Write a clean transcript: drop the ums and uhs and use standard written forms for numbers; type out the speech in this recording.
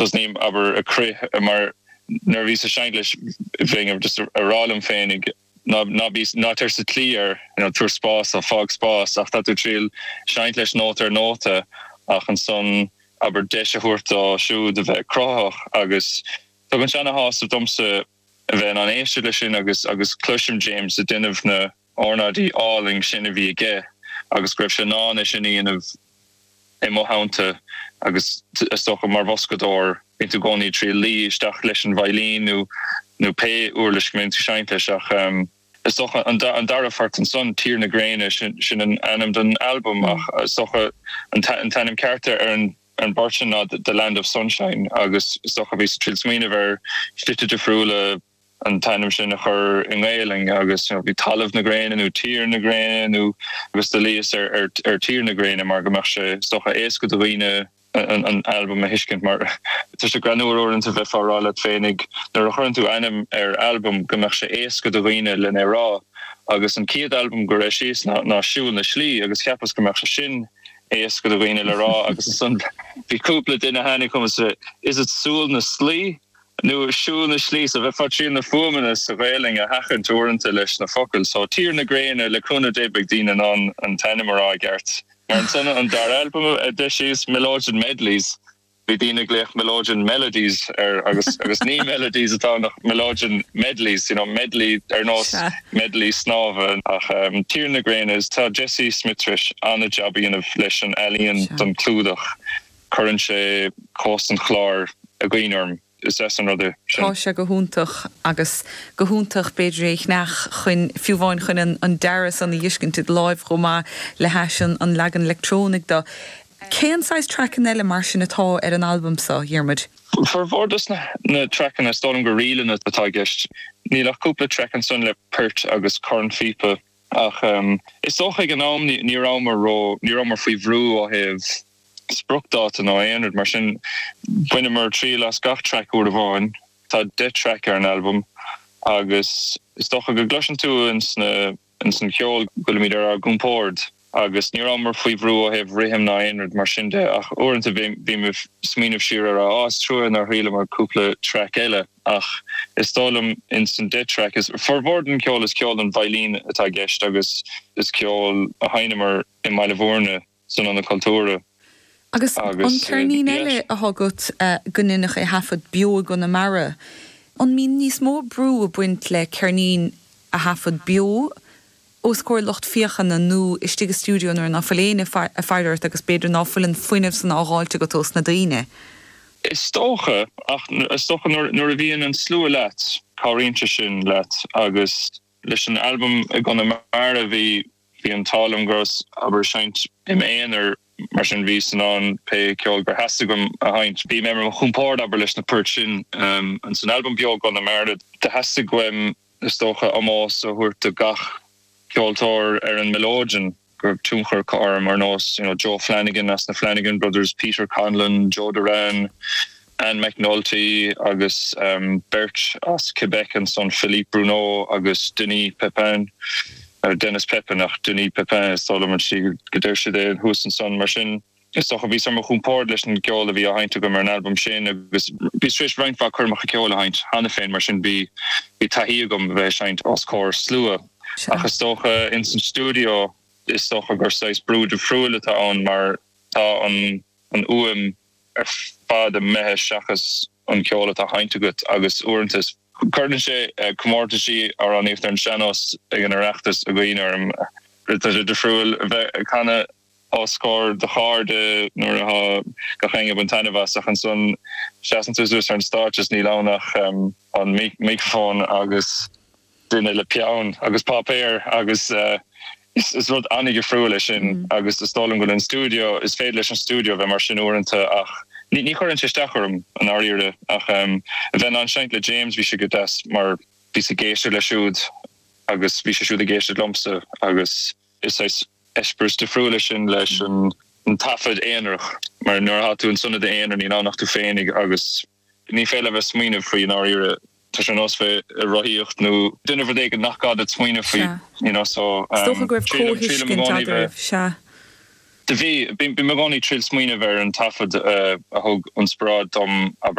Tosnaím, abair, ag crith mar nuair a bhíos ag seinnt leis bheinn just a rá liom féinig ná ná bí ná tar sa tslí air, you know, tabhair spás dó, fág spás ach tá tú ag triail seinnt leis nóta ar nóta ach ansan abair deis a thabhairt dó siúd a bheith cruthaitheach agus tugann sé ana-shásamh domsa a bheith in ann éisteacht leis sin agus agus cloisim James ag déanamh na ornáidí álainn sin a bhí aige agus go raibh sé in ann é sin a dhéanamh i mo theannta agus is dócha mar bhoscadóir bíonn tú i gcónaí ag triail luí isteach leis an veidhlín nó nó pé uirlis go mbíonn tú ag seinnt leis ach is dócha an an dara phort ansan, Tír na Gréine, sin sin an ainm don albam ach is dócha an an t-ainm ceart ar an an bport sin ná The Land of Sunshine agus is dócha bhíos ag triail smaoineamh ar shlite difriúla an t-ainm sin a chur i nGaelainn agus you know bhí Talamh na Gréine nó Tír na Gréine nó agus do luíos ar ar ar Tír na Gréine mar go mbeadh sé is dócha éasca do dhaoine an an albam a thuiscint mar tá sé greannmhar uaireanta bheifeá ag rá leat féinig nuair a chuireann tú ainm ar albam go mbeadh sé éasca do dhaoine len é rá agus an chéad albam gur eisíos ná ná Siúl na Slí agus cheapas go mbeadh sé sin éasca do dhaoine le rá agus ansan bhí cúpla duine a tháinig chugam is is it Súil na Slaí? nó siúl na slí, so bheifeá ag triail na fuaimeanna sa Ghaelainn a sheachaint uaireanta leis na focail. So Tír na Gréine, le cúnamh Dé beidh daoine in ann an t-ainm a rá i gceart. Mar ansan an dara albam a d'eisíos, Mileoidean Medleys, bhí daoine ag glaoch Mileoidean Melodies air agus agus ní Melodies atá ann ach Mileoidean Medleys, you know, medley ar nós medley snámha. Ach Tír na Gréine, is tá Jesse Smith tar éis an-jab a dhéanamh leis an ealaíon don chlúdach. Cuireann sé cósta an Chláir i gcuimhne orm. Is deas an rud é sin. Tá sé go hiontach agus go hiontach b'fhéidir é a cheannach chun, fiú amháin chun an dearadh san a fheiscint i do láimh chomh maith le hais an leagan leictreonaigh de. Cén saghas traiceanna eile mar sin atá ar an albam seo, Dhiarmuid? Formhór dos na traiceanna, is dóigh liom gur ríleanna atá i gceist. Níl ach cúpla traic ansan le poirt agus cornphíopa ach is dócha ag an am ní rabhamar ró, ní rabhamar faoi bhrú ó thaobh spriocdháta nó aon rud mar sin. Bhaineamar triail as gach traic uair amháin. Tá 10 traic ar an albam agus is dócha go gcloiseann tú ins na ins an cheol go bhfuilimid ar ár gcompord agus ní rabhamar faoi bhrú ó thaobh rithim ná aon rud mar sin de ach uaireanta bím ag smaoineamh siar ar á is trua nár thriaileamar cúpla traic eile ach is dóigh liom ins an 10 traic is formhór den cheol is ceol don veidhlín atá i gceist agus is ceol a sheinneamar i mBaile Bhúirne san Ionad Cultúrtha. Agus an ceirnín eile atá agat go ndeineadh é a thaifead beo i gConamara, an mbíonn níos mó brú ag baint le ceirnín a thaifead beo os comhair lucht féachana nó istigh i stiúideo nuair ná fuil éinne ag faire ort agus b'fhéidir ná fuil an fuinneamh san á dháilt agat ós na daoine? Is dócha, ach is dócha nuair a bhíonn an slua leat, cabhraíonn sé sin leat agus leis an albam i gConamara bhí Bhí an t-ádh liom go rabhas, abair, ag seinnt im aonar, mar sin bhíos in ann pé ceol gur theastaigh uaim a sheinnt. Bhí mé ar mo chompord, abair, leis na poirt sin. Ins an albam beo i gConamara, do theastaigh uaim, is dócha, ómós a thabhairt do gach ceoltóir ar an mileoidean go raibh tionchar acu orm, ar nós, you know, Joe Flanagan as na Flanagan Brothers, Peter Conlon, Joe Doran, Anne McNulty agus beirt as Quebec ansan, Philippe Bruneau agus Denis Pepin, Dennis Pepin ach Denis Pepin is dóigh liom an tslí go deir siad é thuas ansan. Mar sin, is dócha, bhíos ar mo chompord leis an gceol a bhí á sheinnt agam ar an albam sin agus bhíos tar éis roinnt mhaith coirmeacha ceoil a sheinnt cheana féin, mar sin bhí taithí agam a bheith ag seinnt os comhair slua. Ach is dócha ins an stiúideo, is dócha gur saghas brú difriúil atá ann mar tá an fhuaim ar fad imithe seachas an ceol atá sheinnt agat agus uaireanta cuireann sé comórtaisí amhránaíochta ar an sean-nós ag an Oireachtas i gcuimhne orm. Tá sé difriúil a bheith ag canadh os comhair do chairde nuair atá gach éinne ag baint taitneamh as ach ansan seasann tú suas ar an stáitse is níl ann ach an micreafón agus duine le peann agus páipéar agus is rud an-dhifriúil é sin agus is dóigh liom go bhfuil an stiúideo, is féidir leis an stiúideo a bheith mar sin uaireanta ach ní chuireann sé isteach orm i ndáiríre ach a bheith in ann seinnt le James bhí sé go deas mar bhíos ag éisteacht leis siúd agus bhí sé siúd ag éisteacht liomsa agus is saghas eispéireas difriúil é sin leis an taifead aonarach mar nuair atá tú ansan i d'aonar níl ann ach tú féinig agus Ní féidir leat bheith ag smaoineamh faoi i ndáiríre. Tá sé ar nós bheith ag rothaíocht nó déanamh rud éigin nach gá duit smaoineamh faoi, you know, so Is dócha go raibh triailim i comhthuiscint gcónaí bheith. eadraibh, sea. Do bhí, bím i gcónaí ag triail smaoineamh ar an taifead a thug inspioráid dom, abair.